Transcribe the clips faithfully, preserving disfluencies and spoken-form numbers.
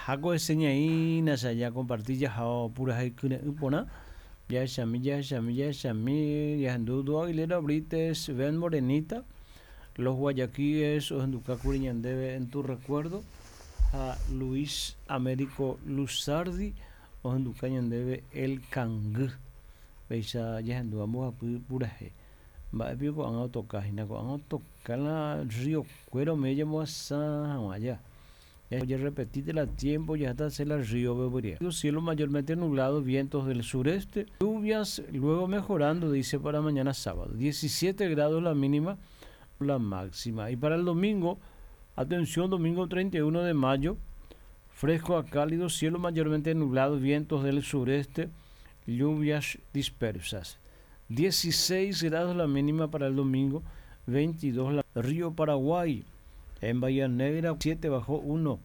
Jahako eseñaína ya compartir ya purahéi kyre'ỹ porã. Jahechami, jahechami, jahechami, jahendu Du Aguilera Brites, Ven Morenita, Los Guayaquíes, ohendukákuri ñandéve En tu recuerdo, ha Luis Américo Luzardi, ohenduka ñandéve El Kangy. Péicha jahendu mbohapy purahéi. Mba'épi ko'ág̃a otokahína, ko'ág̃a otoka la río Cuero media mbohasa hag̃ua ja. Ya repetite la tiempo, ya está la río Bebería. Cielo mayormente nublado, vientos del sureste, lluvias luego mejorando, dice para mañana sábado. diecisiete grados la mínima, la máxima. Y para el domingo, atención, domingo treinta y uno de mayo, fresco a cálido, cielo mayormente nublado, vientos del sureste, lluvias dispersas. dieciséis grados la mínima para el domingo, veintidós la Río Paraguay. En Bahía Negra, siete bajó uno,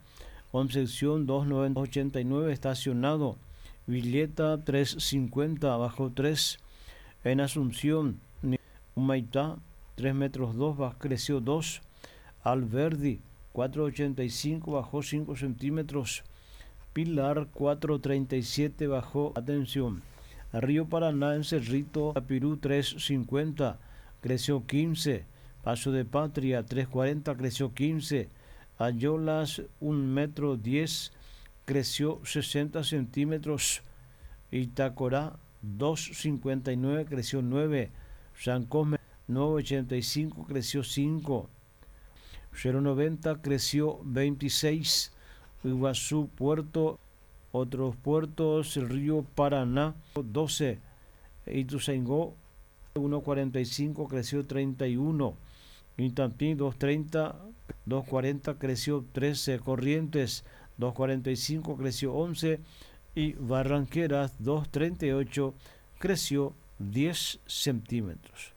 Concepción dos ochenta y nueve estacionado, Villeta tres cincuenta bajó tres, en Asunción, Humaitá tres metros dos, creció dos, Alberdi cuatro ochenta y cinco bajó cinco centímetros, Pilar cuatro treinta y siete bajó, atención, Río Paraná en Cerrito, Pirú tres cincuenta, creció quince, Paso de Patria tres cuarenta, creció quince, Ayolas un metro diez, creció sesenta centímetros, Itacorá dos cincuenta y nueve, creció nueve, San Cosme nueve ochenta y cinco, creció cinco, cero noventa, creció veintiséis, Iguazú Puerto, otros puertos, el río Paraná doce, Ituzaingó uno cuarenta y cinco, creció treinta y uno, Itatí dos treinta, dos cuarenta, creció trece, Corrientes dos cuarenta y cinco, creció once y Barranqueras dos treinta y ocho, creció diez centímetros.